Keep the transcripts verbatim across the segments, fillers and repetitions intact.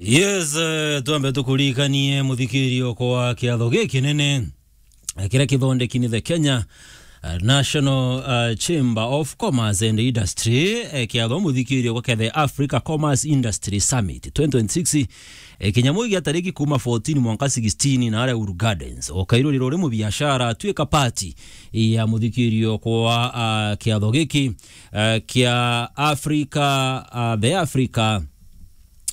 Yes, eh, twambe tukuririkanie muthikirio kwa kiatho gikinene, eh, kiria kithondeki ni the Kenya, eh, National, eh, Chamber of Commerce and Industry, eh, kiatho muthikirio kwa kia the Africa Commerce Industry Summit twenty twenty-six, eh, kinyamu gia tariki kuma fourteen mwanka sixteen na aria Uhuru Gardens. O kairuriro ri mubiashara, tuika party ya muthikirio kwa, ah, kiatho giki, eh, kia Africa, ah, the Africa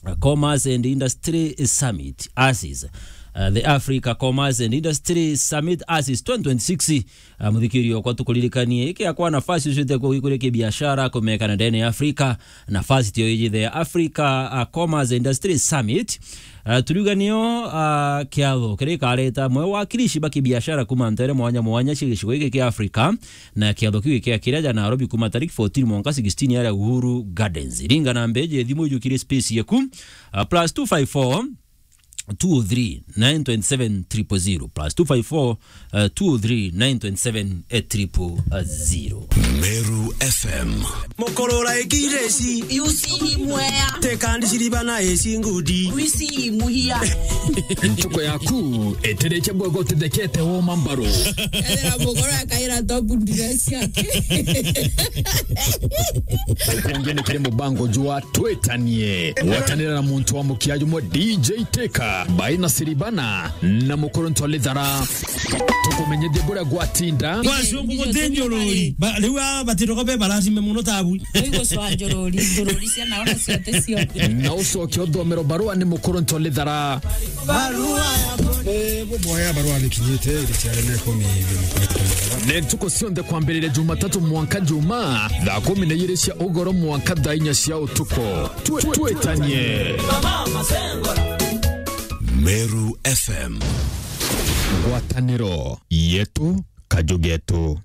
uh, Commerce and Industry Summit, ASIS. Uh, the Africa Commerce and Industry Summit, ASIS twenty twenty-six. Uh, muthikirio kwa tukuririkanie, iki akwa nafasi ucio ite kwa gikuria kibiashara kumekana ndene ya Afrika, nafasi tio iji the Africa, uh, Commerce Industry Summit. Uh, turiuga nio, uh, kiatho kiria ikareta mwe wakirishi ba kibiashara kuma ntere mwanya mwanya cia gicigo giki kia Afrika, na kiatho kiu gikiakiria ja Nairobi kuma tariki fourteen mwanka sixteen aria Uhuru Gardens. Ringa namba iji ya thimu ijukire space yeku, uh, plus two five four, two oh three, nine twenty seven, triple zero, plus two five four, uh, two oh three, nine twenty seven, triple zero. Meru F M. Mukurura ikireci. Yusi imwea. Tekandi ciribana eci ngudi. Wisi imuhia. Ntuko yaku itirikia bwega utithekete woma mbaru. Ethira mugore akaira top dress yake. Ukungi ni kiri mubango jwa Twitanie. Gwatanira na muntu wa mukia jumwe D J Teka, Baina Siribana, na Mukuru Ntolithara. Tukumenyithie buria gwatinda. Kwa cungu guti njururi. Ba-, riu aa batiro kobe baracime muno tabu. Riu gucwa njururi, njururi cia naona cio ti cio. Na ucoke uthomero barua ni Mukuru Ntolithara. Barua ya bo-, eh, buboya barua ni kinyite, iri ciare na ikumi. Ni ntuku cionthe kwambiriria Jumatatu mwanka Juma, thaa kumi na ijiri cia ugoro mwanka thaa inya cia utuku. Twi-, twitanie. Meru F M. Ngwataniro yetu, kaju getu.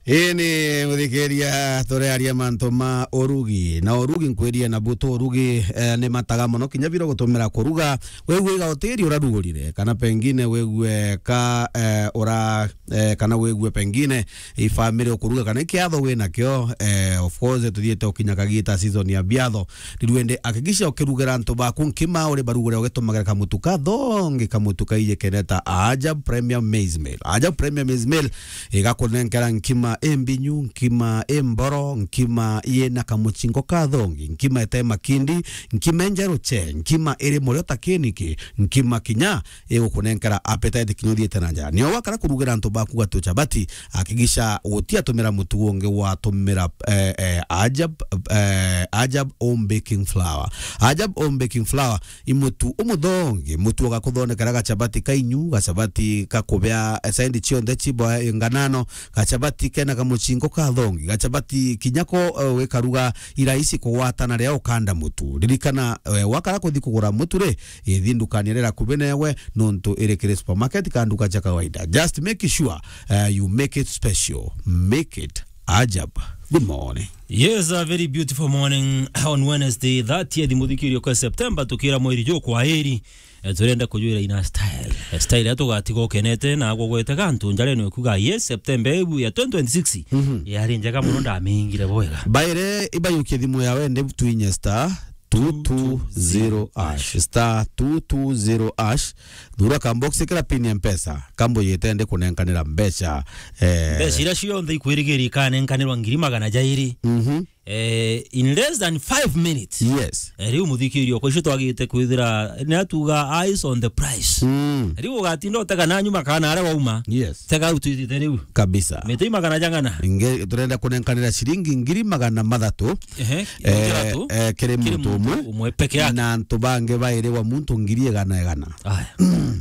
Ii ni muthikiria, turiaria mantu ma urugi. Na urugi nkwirie na butu urugi, eh, ni mataga muno kinya biro gutumira kuruga. Wigua iga utiri urarugurire, kana pengine wigue ka, eh, ura, eh, kana wigue pengine i family ukuruga, kana i kiatho wi nakio, eh, of course, tuthiite ukinya kagita season ya biatho. Riu indi hakikisha ukirugira antu baku nkima uri barugure ugitumagira kamutu kathongi, kamutu kaiji keneta Ajab Premium Maize Meal. Ajab Premium Maize Meal igakunenkera nkima imbinyu, nkima imboro, nkima yina kamuchingo kathongi, nkima ite makindi, nkima injeru che, nkima iri murio ta kiniki, nkima kinya igukunenkera appetite kinya uthiite na njara. Nio wakara kurugira antu baku gatu chabati, hakikisha gutiatumira mutu ungi, watumira, eh, eh, Ajab, eh, Ajab Home Baking Flour. Ajab Home Baking Flour i mutu umuthongi, mutu ugakuthondekera gachabati kainyu, gachabati kakubea, eh, saindi cionthe cibo, eh, nganano, gachabati kena kamuchingo kathongi, gachabati kinya ko, eh, wikaruga irahisi kugwatana riria ukanda mutu. Ririkana, eh, wakara kuthi kugura mutu ri, ithi ndukani iria iri akubi newe, nontu iri kiri supermarket kana nduka cia kawaida. Just make sure, eh, you make it special. Make it Ajab. Good morning. Yes, a very beautiful morning on Wednesday, thirtieth muthikirio kwa September, tukira mweri juu kwa eri. Eh, turenda kujwira ina style. Eh, style ya tugatiga ukenete na agwo gwete gantu njarene kuga, yes, September ibu ya twenty twenty-six. Mhm. Yari njega muno, ndamingire bwega. Baire, ibayukie thimu yawe, ndi twinye star two two zero hash. Star two two zero hash. Thura ka box, ikira pin ya Mpesa. Kambo yitende kunenkanira mbeca. Eh. Mbeca iria cionthe ikwirigiri ikanenkanirwa ngiri magana jairi. Mhm. Eh, in less than five minutes. Yes. Eh, riu muthikirio, kwa icio twagite kwithira, ni atuga eyes on the prize. Mm. Riu ugatinda utega na nyuma kana aria wauma. Yes. Tega au twithite riu. Kabisa. Miti magana jang'ana. Inge, turenda kunenkanira ciringi ngiri magana mathatu. Ehe, eh, eh, kiri muntu umwe peke yake. Na antu bangi bairi wa muntu ngiri igana igana. Aya.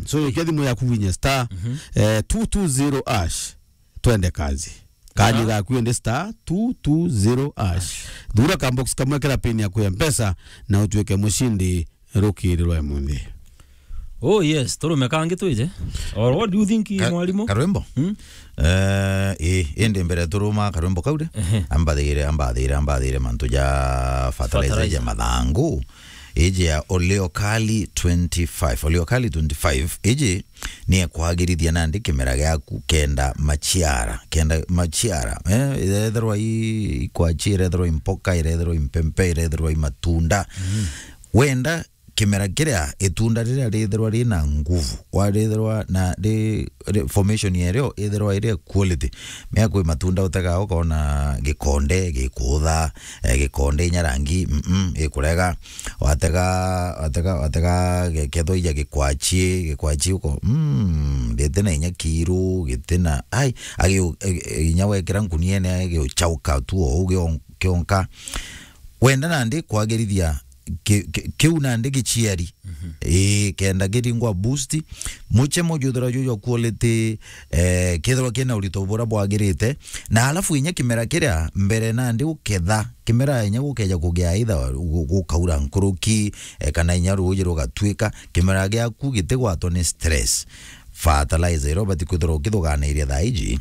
So, ukia thimu yaku winye star, mhm, eh, two two zero hash. Twende kazi. Kanya gaku ende star two two zero hash. Thura ka box kamwe kira pin yaku ya Mpesa na utuike mushindi rukiri rwa munthi. Oh yes, turume kangi twije. Or what do you think, ka-, mwalimu? Karwimbo? Hmm? Eh, eh, indi mbere turuma karwimbo kau ri, ehe, ambathire, ambathire, ambathire mantu ja fertilizer, fertilizer ja mathangu. iji ya Oleokali twenty-five. Oleokali twenty-five, iji ni ekwagirithia nandi kimera giaku kenda machiara, kenda machiara, eh, irethirwa i, ikwachi, irethirwa i mpoka, irethirwa i mpempe, irethirwa i matunda. Mm. Wenda kimera kiria, itunda riria rithirwa rina nguvu, warithirwa na ri, ri, formation yerio ithirwa iri quality. Mea kwi matunda utegaa ukona gikonde gikutha, eh, gikonde inya rangi, mm, mm, ikurega. Watega, watega, watega ge-, kethwa ija gikwachi, gikwachi uko, mm, gitina inya kiru, gitina, ai, agiu-, e-, e-, inya wekira nkuniene agiuchauka tu ou gion-, kionka. Wenda nandi kwagirithia ki-, ki-, kiu nandi giciari. Mhm. Ii, kenda kiringwa boost. Muchemo juthirwa ju jwa quality, eh, kethirwa kina urito buria bwagirite. Na alafu inya kimera kiria mbere nandi uketha, kimera inya gukeja kugia either gu-, gukaura nkuruki, eh, kana inya ruuji rugatwika, kimera giaku gitigwatwa ni stress. Fertilizer iria ubati kwithirwa ukithuganiria thaa iji,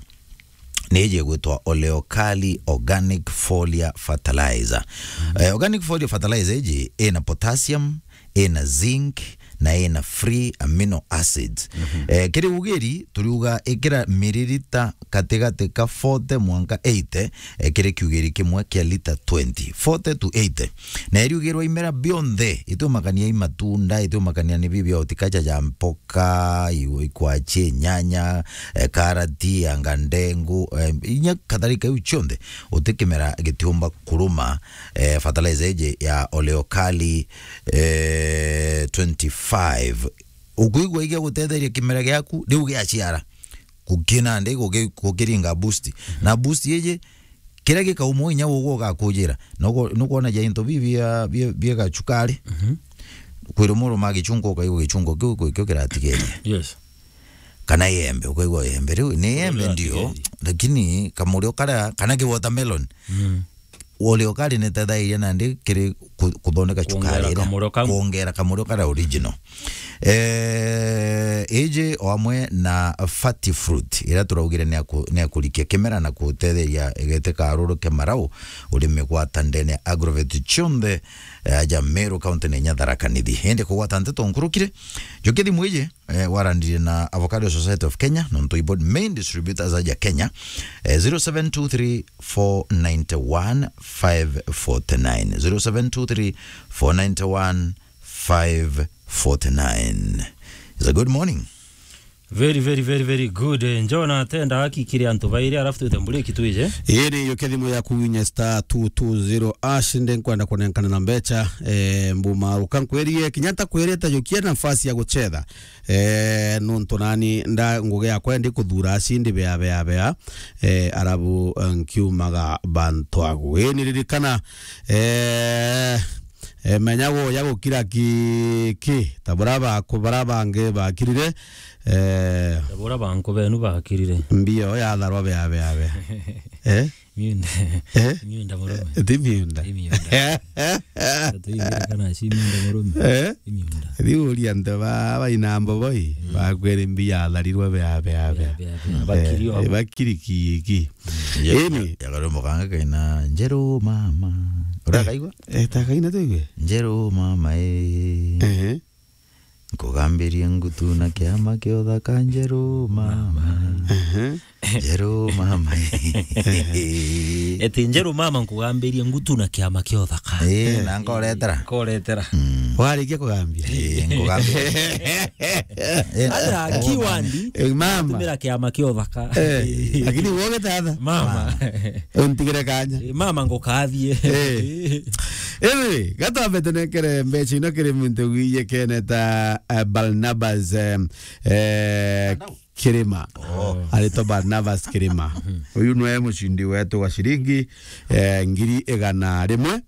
ni iji igwitwa Oleokali Organic Foliar Fertilizer. Mm. Eh, Organic Foliar Fertilizer iji ina potassium, ina zinc, na ina free amino acids. Mhm. Eh, kiri ugiri, turiuga ikira miririta katigati ka forty mwanka eighty, eh, kiri kiugiri kimwe kia lita twenty. Forty to eighty. Na iriugirwa imera bionthe, itiumakania i matunda, itiumakania ni bibi horticulture ja mpoka, ka, i-, ikwachi, nyanya, eh, karati, anga ndengu, eh, inya kadhalika iu cionthe, uti kimera gitiumba kuruma, eh, fertilizer iji ya Oleokali, eh, twenty-five. Ukwigua igia gutetheria kimera giaku, riu giaciara. Gukina ndi, guki-, gukiringa boost. Mhm. Na boost iji, kiria gikauma inya ugwe ugakujira. Nuko-, nukwona ja into bi bia, bia, bia gachukari. Mhm. Kwirwo muruma gichungo, ukaigua gichungo kiu kwi kio kiratigeria. Yes. Kana iembe, ukaigua iembe riu ni iembe ndio, lakini kamurio karia, kana ki watermelon. Mm. Oleokali ni tethairia nandi kiri ku-, kuthondeka chukari iria, kamurio kau. Kuongera kamurio karia original. Eh, iji o amwe na fati fruit, iria turaugire ni aku-, ni akurikia kimera na kutetheria igete karuru ke marau, uri migwata ndene ya agrovet cionthe, eh, aja Meru County na inya Tharaka Nithi. Indi kugwata nteto nkurukire, njukie thimu iji, eh, waranirie na Avocado Society of Kenya, nontu ibo main distributors aja Kenya, eh, zero seven two three four nine one five four nine, zero seven two three four nine one five four nine. It's a good morning. Very, very, very, very good. Eh, Njona, tenda haki kiri antu bairi, alafu twite mburiki twije. Ii ni yuke thimu yaku winye star two two zero hash, ndi nkwenda kunenkana na mbecha, eh, mbuma ruka nkwerie, kinya ntakwirite jukia nafasi ya guchetha. Eh, nontu nani nda ngugi yakwa ndi kuthura acindi bea, bea, bea, eh, arabu, eh, nkiumaga bantu agu. Ii ni ririkana, eh, eh, menya guya gukira ki, ki, ta bura baku, bara bangi bakirire, eh, ta bura banku benu bakirire. Mbio yatharwa bea, bea, bea. Eh? Miunda. Eh? Miunda murume. Ti miunda. Ti miunda. Tuigire kana si miunda murume. Eh? Ti miunda. Riu uria antu ba, baina mboboi, mm, bakwere mbi yatharirwe bea, bea, bea. Bea, bea, bea. Eh, bakiri o. Bakiri ki, ki. Mm. Eni. Ya, ya karumbo kanga kaina, "Njeru mama." Urakaigua? Eh, ta kaina tuigue. "Njeru mama, eh." Ehe. Nkugambirie ngutu na kiama kia uthaka njeru mama. Ehe. Njeru mama. Eti njeru mama nkugambirie ngutu na kiama kia uthaka. Ii, na nkoretera. Nkoretera. Mm. Warikia kugambia? Ii, nkugambirie. Ii, ata kiwandi, eh, mama. Tumira kiama kia uthaka. Eh, lakini woge tata. Mama. Untigire kanya. Eh, mama ngukathie. Eh. Anyway, gatwambe tunengere mbeca ino kiri muntu wiye kene ta, eh, Barnabas, eh, eh, Kirima. Oh. Aritwa Barnabas Kirima. Uyu nwe mucindi wetu wa ciringi, eh, ngiri igana rimwe.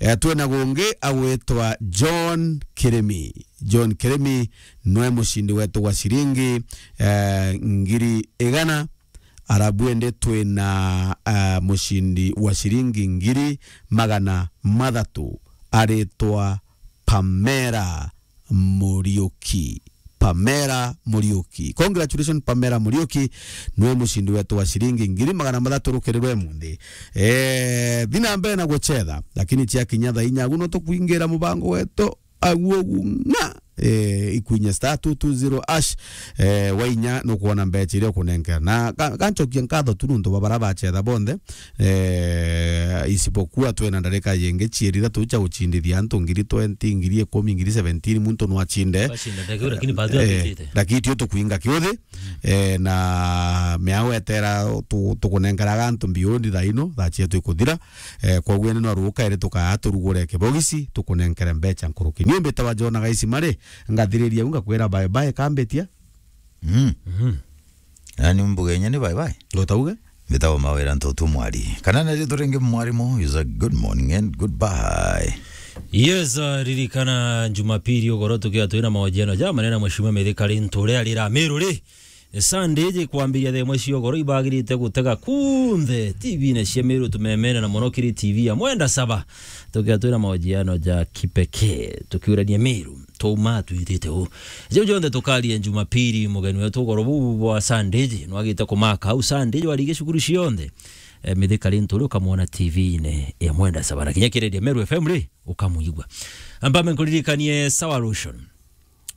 Eh, twina gungi agwitwa John Kirimi. John Kirimi nwe mucindi wetu wa ciringi, eh, ngiri igana. Arabu indi twina, ah, mucindi wa ciringi ngiri magana mathatu aritwa Pamela Muriuki. Pamela Muriuki. Congratulations, Pamela Muriuki. Nwe mucindi wetu wa ciringi ngiri magana mathatu rukiri rwa imunthi. Eh, thi na mbere na guchetha, lakini ciakinya thaa inya agu no tukwingira mubango wetu Aguo gu ng'a, eh, ikwinya star two two zero hash, eh, wainya nukwona mbecha iria ukunenkera. Na ga-, ganchokia nkatho tu nuntu bwa bara bachetha bonthe, eh, isipokuwa twina ndarika yingi cieri ithatu cia guchindithia antu ngiri twenty, ngiri ikumi, ngiri seventeen, muntu no achinde. Bachinda ndageu, lakini bado eh, atitite. Lakini tio tukwinga kiuthi, eh, na miao etera tu-, tukunenkeraga antu mbiundi thaa ino, thaa cietu ikuthira. Eh, koguo ni no ruka iri tukaa turugure kibogisi, tukunenkere mbecha nkuruki. Ni mbitawa Jona Gaisi Mari, ngathiriria u ngakwira bye bye kambitia. Mm. Mhm. Yaani mbuge inya ni bye bye. Utauge? Mbitawa Mawira Ntotu Mwari. Kana na ritwa ringi mwarimu, is a good morning and goodbye. Yes, uh, ririkana Jumapili ugoro tukia twina mahojiano ja manene na Mheshimiwa Mithika Linturi arira Meru ri. Sunday iji kwambiria thaa imwe cia ugoro ibagirite gutega kunthe T V-ini cia Meru tumemene na mono kiri T V ya Mwenda Saba. Tukia twina mahojiano ja kipekee tukiurania Meru. Twauma twitite u. Jau jonthe tukaria Jumapili, mugeni wetu ugoro buu bwa Sunday iji nwagite kumaka au Sunday iji warige cukuru cionthe. Eh, Mithika Linturi ukamwona T V-ini ya Mwenda Saba. Na kinya kireria Meru F M ri, ukamwigua. Ambame nkuririkanie Sawa Lotion.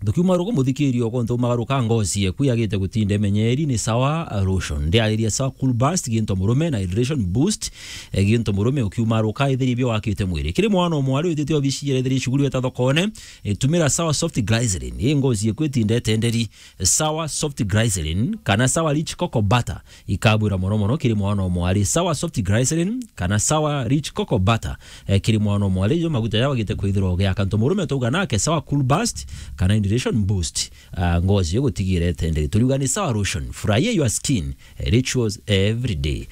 Tukiuma ruku muthikirio gontu magaruka ngozi yeku yagite gutinda imenyeri ni Sawa Lotion. Ndiariria Sawa Cool Burst, ginto murume na hydration boost, eh, ginto murume ukiuma ruka ithiri bio wakite mwiri. Kiri mwana o mwari witite obici yere ithiri shughuli eta thokone, eh, tumira Sawa Soft Glycerin. Ii ngozi yeku itinde itenderi. Sawa Soft Glycerin kana Sawa Rich Cocoa Butter. Ikabwira mono mono kiri mwana o mwari. Sawa Soft Glycerin kana Sawa Rich Cocoa Butter, eh, kiri mwana o mwari, jo maguta jao gite kwithirwa ugiaka ntu murume twauga nake Sawa Cool Burst kana Hydration Boost. Ah, ngozi yo gutigira itenderi. Turiuga ni Sawa Lotion. Furahia your skin, eh, rituals every day.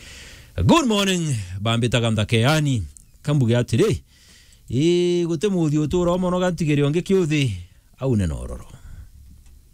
Good morning, bambitaga Mthakeani. Kambuge atiri, ii, guti muthi utura mono gantigiri ongi kiuthi, au ni nororo.